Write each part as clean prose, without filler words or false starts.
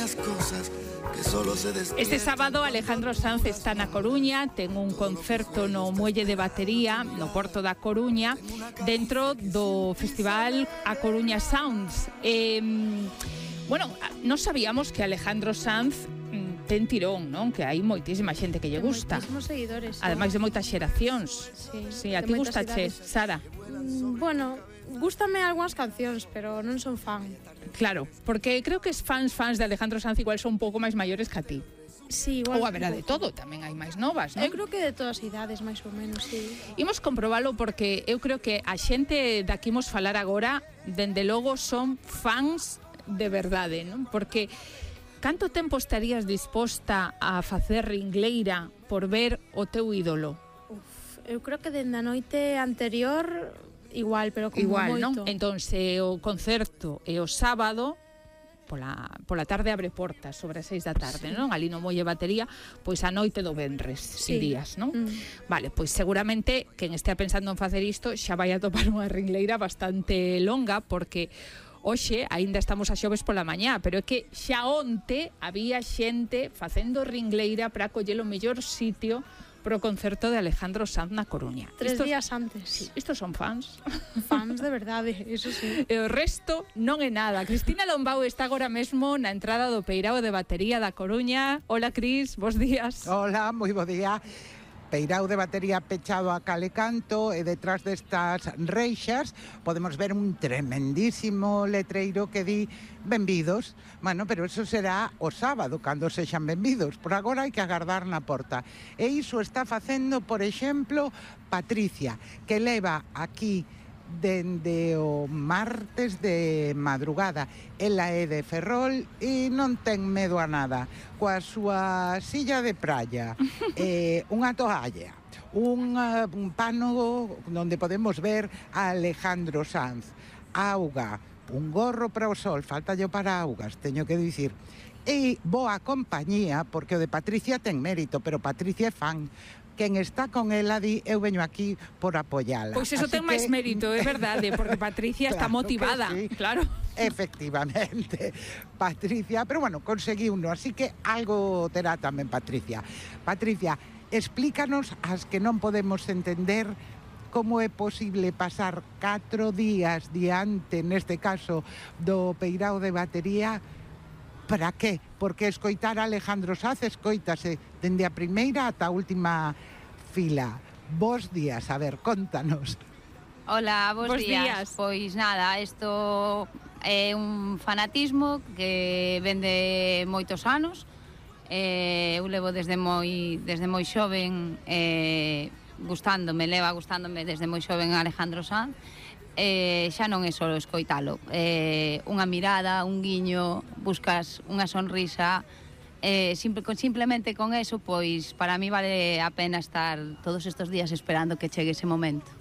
pequeñas cosas que solo se despiertan. Este sábado Alejandro Sanz está na Coruña, ten un concerto no Muelle de Batería, no Porto da Coruña, dentro do festival A Coruña Sounds. Bueno, non sabíamos que Alejandro Sanz ten tirón, non? Que hai moitísima xente que lle gusta. Moitísimos seguidores. Ademais de moitas xeracións. Sí, a ti gustache, Sara? Bueno, gústame algunhas cancións, pero non son fan. Claro, porque creo que os fans de Alejandro Sanz igual son un pouco máis maiores que a ti. Sí, igual. Ou haberá de todo, tamén hai máis novas, non? Eu creo que de todas as idades, máis ou menos, sí. Imos comprobalo porque eu creo que a xente daqui imos falar agora, dende logo son fans de verdade, non? Porque canto tempo estarías disposta a facer ringleira por ver o teu ídolo? Eu creo que dende a noite anterior igual, pero como igual, moito. Non? Entón, se o concerto é o sábado, pola tarde abre portas, sobre as 6 da tarde, non? Ali no Muelle Batería, pois a noite do venres, irías, non? Vale, pois seguramente quen estea pensando en facer isto xa vai a topar unha ringleira bastante longa, porque hoxe aínda estamos a xoves pola mañá, pero é que xa onte había xente facendo ringleira para coller o mellor sitio pro concerto de Alejandro Sanz na Coruña. 3 días antes. Sí, estos son fans. Fans de verdade, eso sí. E o resto non é nada. Cristina Lombao está agora mesmo na entrada do Peirao de Batería da Coruña. Hola, Cris, bos días. Hola, moi bo día. Peirao de Batería pechado a cal e canto, e detrás destas reixas podemos ver un tremendísimo letreiro que di benvidos. Bueno, pero eso será o sábado, cando sexan benvidos. Por agora hai que agardar na porta. E iso está facendo, por exemplo, Patricia, que leva aquí dende o martes de madrugada. Ela é de Ferrol e non ten medo a nada. Coa súa silla de praia, unha toalla, un pano onde podemos ver a Alejandro Sanz, auga, un gorro para o sol, faltalle para augas, teño que dicir. E boa compañía, porque o de Patricia ten mérito, pero Patricia é fan. Quen está con ela di, eu veño aquí por apoiala. Pois eso ten máis mérito, é verdade, porque Patricia está motivada, sí. claro. Efectivamente, Patricia, pero bueno, conseguiuno, así que algo terá tamén Patricia. Patricia, explícanos as que non podemos entender como é posible pasar 4 días diante, neste caso, do Peirao de Batería. Para que? Porque escoitar a Alejandro Sanz escoítase dende a primeira ata a última fila. Bos días, a ver, contanos. Hola, bos días. Pois nada, isto é un fanatismo que ven de moitos anos. Eu levo desde moi xoven leva gustándome desde moi xoven Alejandro Sanz. Xa non é só escoitalo, unha mirada, un guiño, buscas unha sonrisa, simplemente con eso, pois para mí vale a pena estar todos estes días esperando que chegue ese momento.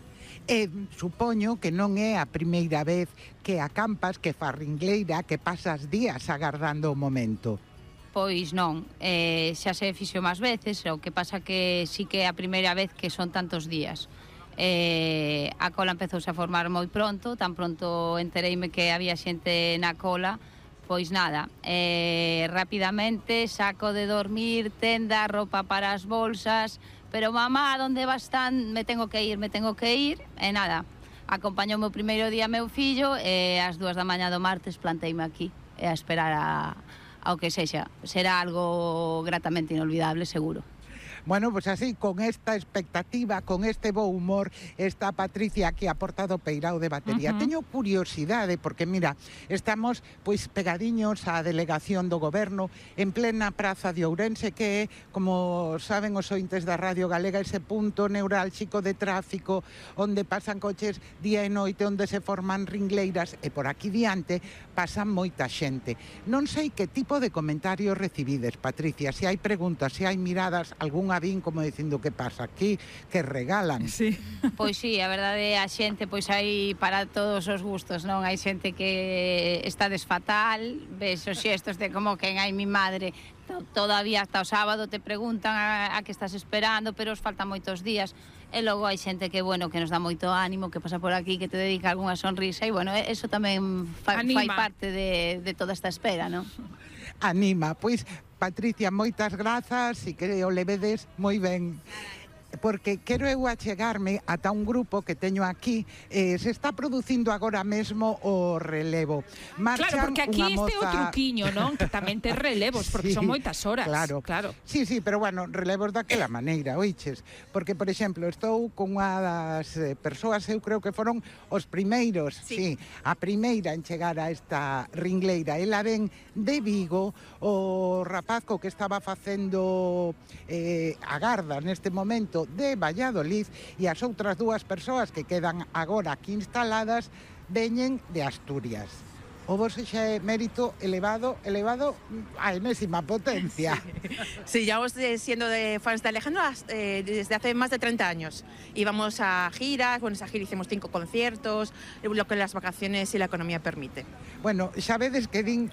Supoño que non é a primeira vez que acampas, que fas ringleira, que pasas días agardando o momento. Pois non, xa se fixo máis veces, o que pasa que sí que é a primeira vez que son tantos días. A cola empezouse a formar moi pronto, tan pronto entereime que había xente na cola, pois nada, rapidamente saco de dormir, tenda, roupa para as bolsas, pero mamá, onde vas tan? Me tengo que ir, e nada, acompañoume o primeiro día meu fillo e ás 2 da mañá do martes planteime aquí a esperar ao que sexa. Será algo gratamente inolvidable, seguro. Bueno, pues así, con esta expectativa, con este bo humor, está Patricia aquí a porta do Peirao de Batería. Teño curiosidade, porque mira, estamos pois pegadiños á delegación do goberno en plena praza de Ourense, que é, como saben os ointes da Radio Galega, ese punto neurálxico de tráfico onde pasan coches día e noite, onde se forman ringleiras, e por aquí diante pasan moita xente. Non sei que tipo de comentarios recibides, Patricia, se hai preguntas, se hai miradas, algunha vin como dicindo que pasa aquí, que regalan. Sí. Pois sí, a verdade, a xente pois hai para todos os gustos, non? Hai xente que está desfatal, ves os xestos de como quen hai mi madre, todavía hasta o sábado te preguntan a que estás esperando, pero os faltan moitos días. E logo hai xente que, bueno, que nos dá moito ánimo, que pasa por aquí, que te dedica algunha sonrisa, e bueno, eso tamén fai parte de toda esta espera, non? anima. Pois, Patricia, moitas grazas e que o levedes moi ben. Porque quero eu achegarme ata un grupo que teño aquí, se está producindo agora mesmo o relevo. Marchan, claro, porque aquí este moza... o truquiño, non? Que tamén te relevos, porque sí, son moitas horas. Claro. Sí, pero bueno, relevos daquela maneira, oiches? Porque, por exemplo, estou con unha das persoas, eu creo que foron os primeiros, sí, a primeira en chegar a esta ringleira. Ela ven de Vigo, o rapazco que estaba facendo a garda neste momento de Valladolid, e as outras dúas persoas que quedan agora aquí instaladas veñen de Asturias. O vos xa é mérito elevado a enésima potencia. Sí, llevamos siendo fans de Alejandro desde hace más de 30 años. Íbamos a giras, bueno, esa gira hicimos 5 conciertos, lo que las vacaciones y la economía permite. Bueno, xa vedes que din,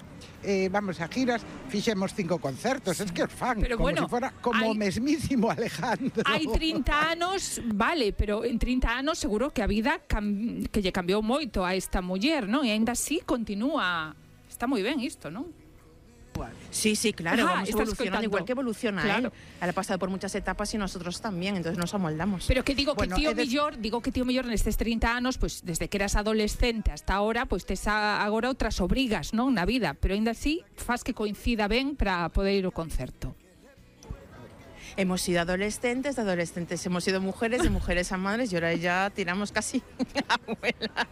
vamos a giras, fixemos 5 concertos, es que os fan, pero como bueno, si fuera como o mesmísimo Alejandro. Hai 30 anos, vale, pero en 30 anos seguro que a vida que lle cambiou moito a esta muller, non? E ainda así continúa. Está moi ben isto, non? Sí, claro, vamos evolucionando, igual que evoluciona claro. Él ha pasado por muchas etapas y nosotros también, entonces nos amoldamos. Pero que digo, bueno, que tío mellor nestes 30 anos, pues desde que eras adolescente hasta ahora, pues tes agora outras obrigas, non, na vida, pero ainda así faz que coincida ben para poder ir ao concerto. Hemos sido adolescentes, de adolescentes hemos sido mujeres, de mujeres a madres, y ahora ya tiramos casi a abuela.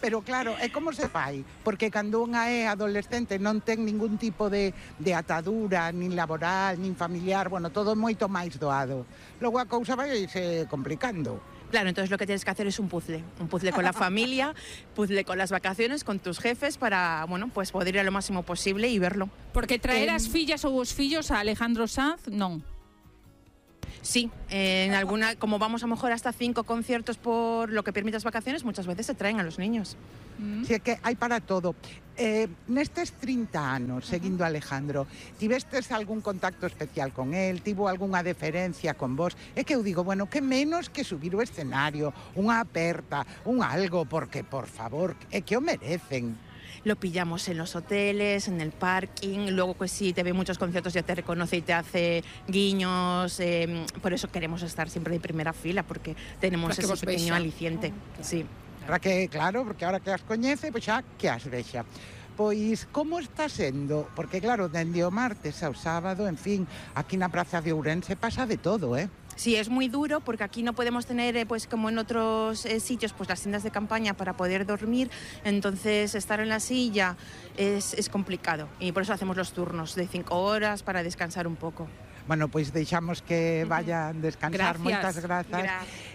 Pero claro, é como se fai? Porque cando unha é adolescente non ten ningún tipo de atadura, nin laboral, nin familiar, bueno, todo moito máis doado. Logo a cousa vai se complicando. Claro, entonces lo que tienes que hacer es un puzzle con la familia, puzzle con las vacaciones, con tus jefes, para, bueno, pues poder ir a lo máximo posible y verlo. Porque traer as fillas ou os fillos a Alejandro Sanz, non. Sí, en alguna, como vamos a lo mejor hasta 5 conciertos por lo que permite las vacaciones, muchas veces se traen a los niños. Sí, que hai para todo. Nestes 30 anos seguindo a Alejandro, tivestes algún contacto especial con él? Tivo algunha deferencia con vos? É que eu digo, bueno, que menos que subir o escenario, unha aperta, un algo, porque, por favor, é que o merecen. Lo pillamos en los hoteles, en el parking, luego pues si te ve muchos conciertos ya te reconoce y te hace guiños, por eso queremos estar siempre de primera fila, porque tenemos ese pequeño aliciente. Sí. Para que, claro, porque ahora que as coñece, pois xa que as vexa. Pois, como está sendo? Porque, claro, dende o martes ao sábado, en fin, aquí na Praza de Ourense pasa de todo, Sí, es muy duro porque aquí no podemos tener, pues como en otros sitios, pues las tiendas de campaña para poder dormir, entonces estar en la silla es complicado y por eso hacemos los turnos de 5 horas para descansar un poco. Bueno, pois deixamos que vayan descansar. Moitas grazas.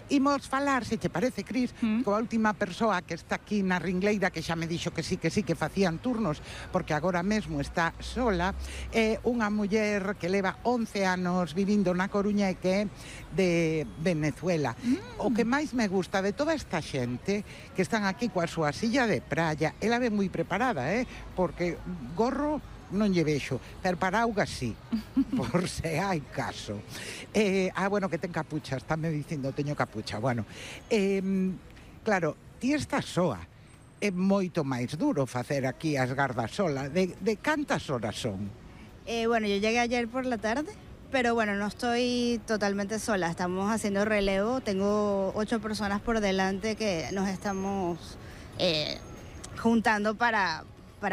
Imos falar, se te parece, Cris, coa última persoa que está aquí na ringleira, que xa me dixo que sí, que facían turnos, porque agora mesmo está sola, é unha muller que leva 11 anos vivindo na Coruña e que é de Venezuela. O que máis me gusta de toda esta xente que están aquí coa súa silla de praia, ela ve moi preparada, porque gorro non lle vexo, pero para auga sí, por se hai caso. Bueno, que ten capucha, estáme dicindo, teño capucha, bueno. Claro, ti estás soa, é moito máis duro facer aquí as gardas sola. De cantas horas son? Bueno, yo llegué ayer por la tarde, pero bueno, no estoy totalmente sola, estamos haciendo relevo, tengo 8 personas por delante que nos estamos juntando para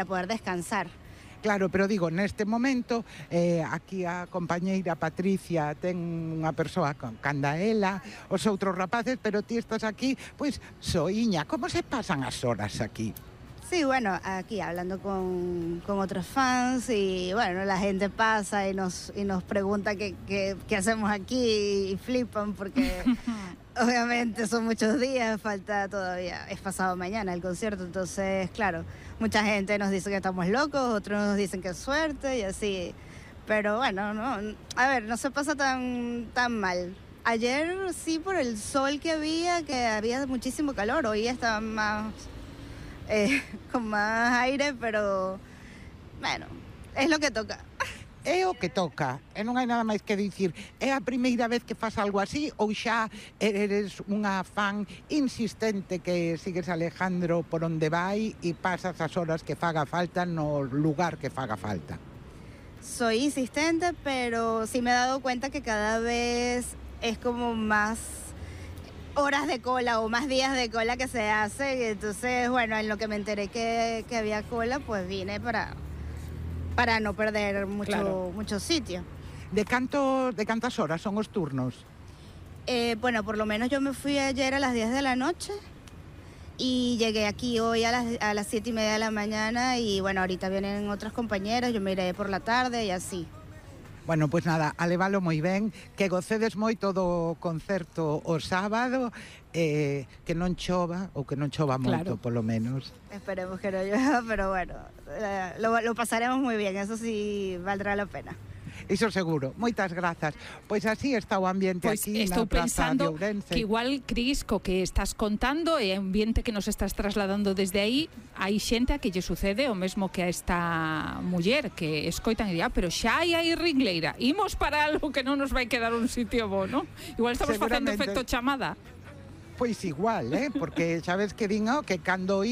poder descansar. Claro, pero digo, neste momento, aquí a compañeira Patricia ten unha persoa con candaela, os outros rapaces, pero ti estás aquí, pois, soiña. Como se pasan as horas aquí? Sí, bueno, aquí hablando con otros fans y bueno, la gente pasa y nos pregunta qué hacemos aquí y flipan porque obviamente son muchos días, falta todavía, es pasado mañana el concierto, entonces claro, mucha gente nos dice que estamos locos, otros nos dicen que es suerte y así, pero bueno, no, a ver, no se pasa tan mal. Ayer sí por el sol que había muchísimo calor, hoy estaba más con más aire, pero bueno, es lo que toca. É o que toca, e non hai nada máis que dicir. É a primeira vez que faz algo así ou xa eres unha fan insistente que sigues Alejandro por onde vai e pasas as horas que faga falta no lugar que faga falta? soy insistente, pero sí me he dado cuenta que cada vez es como más horas de cola o más días de cola que se hacen. Entonces, bueno, en lo que me enteré que había cola, pues vine para no perder mucho sitio. De cantas horas son os turnos? Bueno, por lo menos yo me fui ayer a las 10 de la noche y llegué aquí hoy a las 7:30 de la mañana y bueno, ahorita vienen otras compañeras, yo me iré por la tarde y así. Bueno, pois nada, alévalo moi ben, que gocedes moito do concerto o sábado, que non chova, ou que non chova moito, polo menos. Esperemos que no llueva, pero bueno, lo pasaremos muy bien, eso sí valdrá la pena. Iso seguro. Moitas grazas. Pois así está o ambiente aquí na Praza de Ourense. Que igual, Cris, co que estás contando e o ambiente que nos estás trasladando desde aí, hai xente a que lle sucede o mesmo que a esta muller, que escoitan e pero xa hai ringleira, imos para algo que non nos vai quedar un sitio bo, non? Igual estamos facendo efecto chamada. Pois igual, porque sabes que din que cando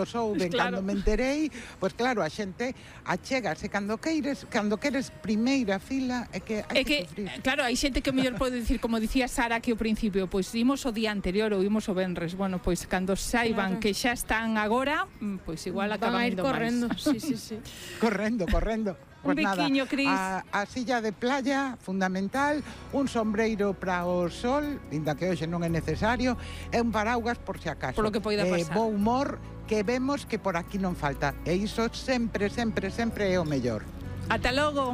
souben, cando me enterei, pois claro, a xente achégase cando queres primeira fila, é que hai que sufrir. Claro, hai xente que mellor pode dicir, como dicía Sara aquí ao principio, pois imos o día anterior ou imos o venres. Bueno, pois cando saiban que xa están agora, pois igual acaban indo correndo. máis. Sí. Correndo. Un biquiño, Cris. A silla de playa, fundamental, un sombreiro para o sol, ainda que hoxe non é necesario, e un paraugas por si acaso. Por lo que poida pasar. Bo humor, que vemos que por aquí non falta. E iso sempre é o mellor. Ata logo.